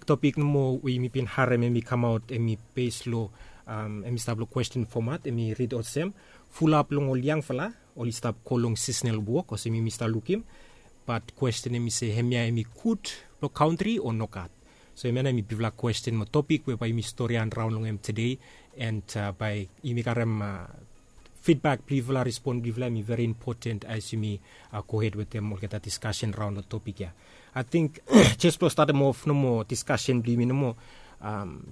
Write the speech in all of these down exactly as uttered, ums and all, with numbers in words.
topik nomo we yumi bin harem em i kamaot em i bes long em i stap long kwesten fomat em i rid olsem, fulap long ol yangfala oli stap go long sisenal wok olsem yumi stap lukim. Bat kwesten em i se hemia em i gud long kantri o nogat? So hemia nao em i bigfala kwesten mo topik we bae yumi storian raon long em tede. And bae yumi karem fidbak blong yufala, respon blong yufala em i veri impoten as yumi gohed wetem olgeta diskasen raon long topik ya. Ating jes blong statem of nomo diskasen blong yumi nomo,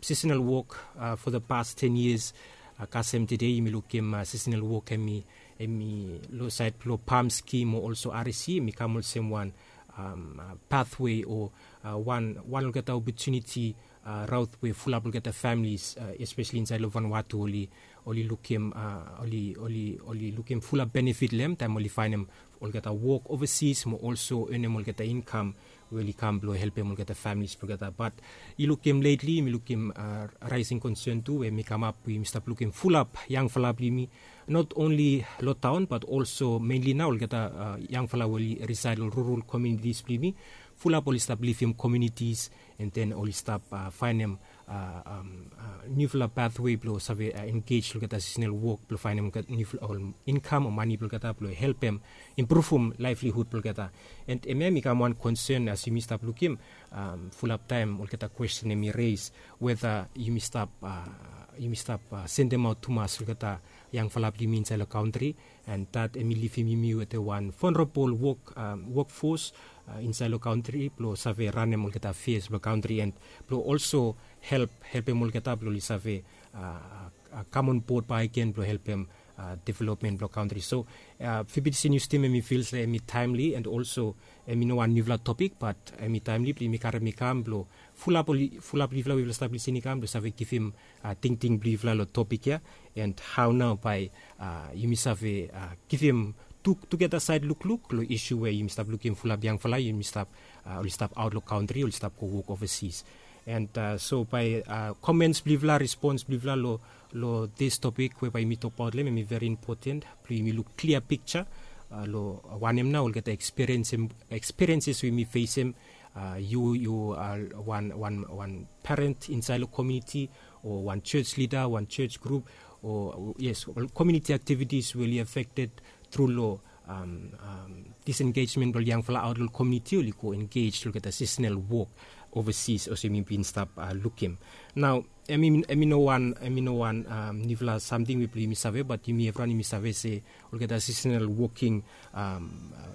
sisenal wok fo the past ten years kasem tede yumi lukim sisenal wok em i em i long saed blong pam skim o olso arisi em i kam olsem wan pathwe o wan wan olgeta opotuniti raot we fulap olgeta familis espeseli insaed long vanwatu oli oli lukim oli oli oli lukim fulap benefit long em taem oli faenem olgeta wok ovasis mo olso enem olgeta inkam we oli kam blong helpem olgeta familis blong olgeta bat yu lukim letli yumi lukim raesing konsen tu we mi kamap we yumi stap lukim fulap yangfala blong yumi not onli long taon bat olso menli nao olgeta yangfala we oli risaed long rural komunitis blong yumi fulap oli stap livim komunitis and then oli stap faenem niufala pathwe blong save engej long olgeta sisenal wok blong faenem niufala ol inkam o mani blong olgeta blong helpem impruvum laevlihud blong olgeta. And hemia em i kam wan konsen as yumi stap lukim fulap taem olgeta kwesten em i res weta yumi stap yumi stap sendemaot tumas olgeta yangfala blong yumi insaed long kantri. And dat em i livim yumi wetem wan vonrabol wok wokfos insaed long kantri blong save ranem olgeta fias blong kantri and blong olso help helpem olgeta blong oli save kam on bod baegen blong helpem developmen blong kantri. So fibidisi nius tim em i fil se em i taemli and olso em i no wan niufala topik bat em i taemli blong yumi karem i kam blong fulap oli fulap yufala we yufala stap lisin i kam blong save givim tingting blong yufala long topik ya. And hao nao bae yumi save givim tu tugeta saed lukluk long isu we yumi stap lukim fulap yangfala yumi stap oli stap aot long kantri oli stap go wok ovasis. And so bae komens blong yufala respons blong yufala long long dis topik we bae yumi tokbaot long em em i veri impoten blong yumi luk klia piksa long wanem nao olgeta ekspirienses we yumi fesem yu yu wan wan wan paren insaed long komuniti o wan jos lida wan jos grup o yes ol komuniti aktivitis we oli afekted tru long disengejmen blong ol yangfala aot long ol komuniti oli go engej long olgeta sisenal wok ovasis olsem yumi bin stap lukim. Nao em i no wan em i no wan niufala samting we blong yumi save bat yumi evriwan yumi save se olgeta sisenal woking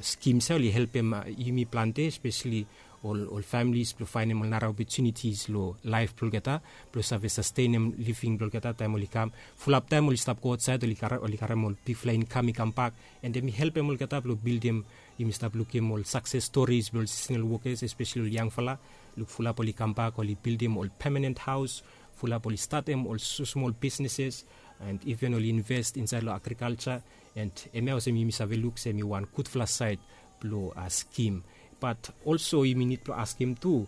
skims ya oli helpem yumi plante espeseli ol ol familis blong faenem ol nara opotunitis long laef blong olgeta blong save sastenem living blong olgeta taem oli kam fulap taem oli stap go aotsaed oli karem ol bigfala inkam i kambak. And em i helpem olgeta blong bildim yumi stap lukim ol sakses storis blong ol sisenal wokas espeseli ol yangfala luk fulap oli kambak oli bildim ol pemanen haos fulap oli statem ol smosmol bisneses and iven oli invest insaed long agrikalsa. And hemia olsem yumi save luk se em i wan gudfala saed blong skim. Bat olso yumi nid blong askim tu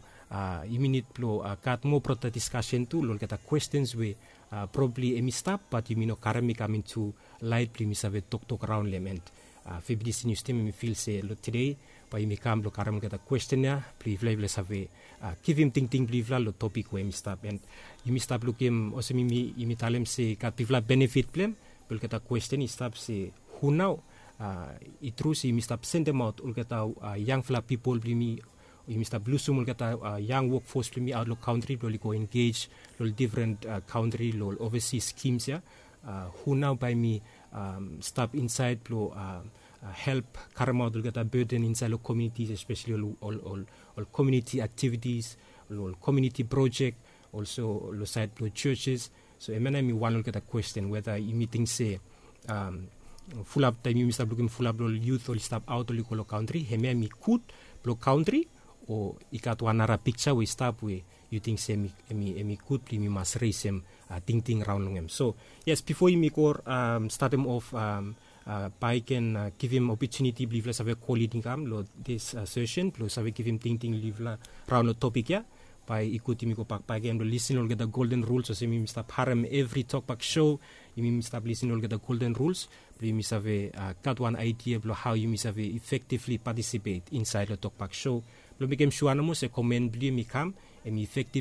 yumi nid blong gat moa brota diskasen tu long olgeta kwestens we probabli em i stap bat yumi no karem i kam intu laet blong yumi save toktok raon long em. And fibidisi nius tim em i fil se long tede bae yumi kam blong karem olgeta kwesten ya blong yufala yufala save givim tingting blong yufala long topik we em i stap. And yumi stap lukim olsem yumi talem se i gat bigfala benefit blong em. Be olgeta kwesten i stap se hu nao i tru se yumi stap sendemaot olgeta yangfala pipol blong yumi yumi stap lusum olgeta yang wokfos blong yumi aot long kantri blong oli go engej long ol difren kantri long ol ovasis skims ya. Hu nao bae mi stap insaed blong help karemaot olgeta beden insaed long komunitis espeseli ol ol ol komuniti aktivitis ol komuniti projek olso long saed blong jojes. So hemia nao em i wan olgeta kwesten weta yumi ting se fulap taem yumi stap lukim fulap long ol yut oli stap aot oli go long kantri hemia em i gud blong kantri o i gat wan nara piksa we i stap we yu ting se em i em i em i gud blong yumi mas resem tingting raon long em. So yes bifo yumi go statem of bae i ken givim opotuniti blong yufala save go lid i kam long dis sesen blong save givim tingting long yufala raon long topik ya. Bae i gud yumi gobak bae i ken blong lisin long olgeta golden ruls olsem yumi stap harem evri tokbak sho yumi stap lisin long olgeta golden ruls blong yumi save gat wan aidia blong hao yumi save efektivli patisipet insaed long tokbak sho blong mekem sua nomo se komen blong yumi kam em i efektiv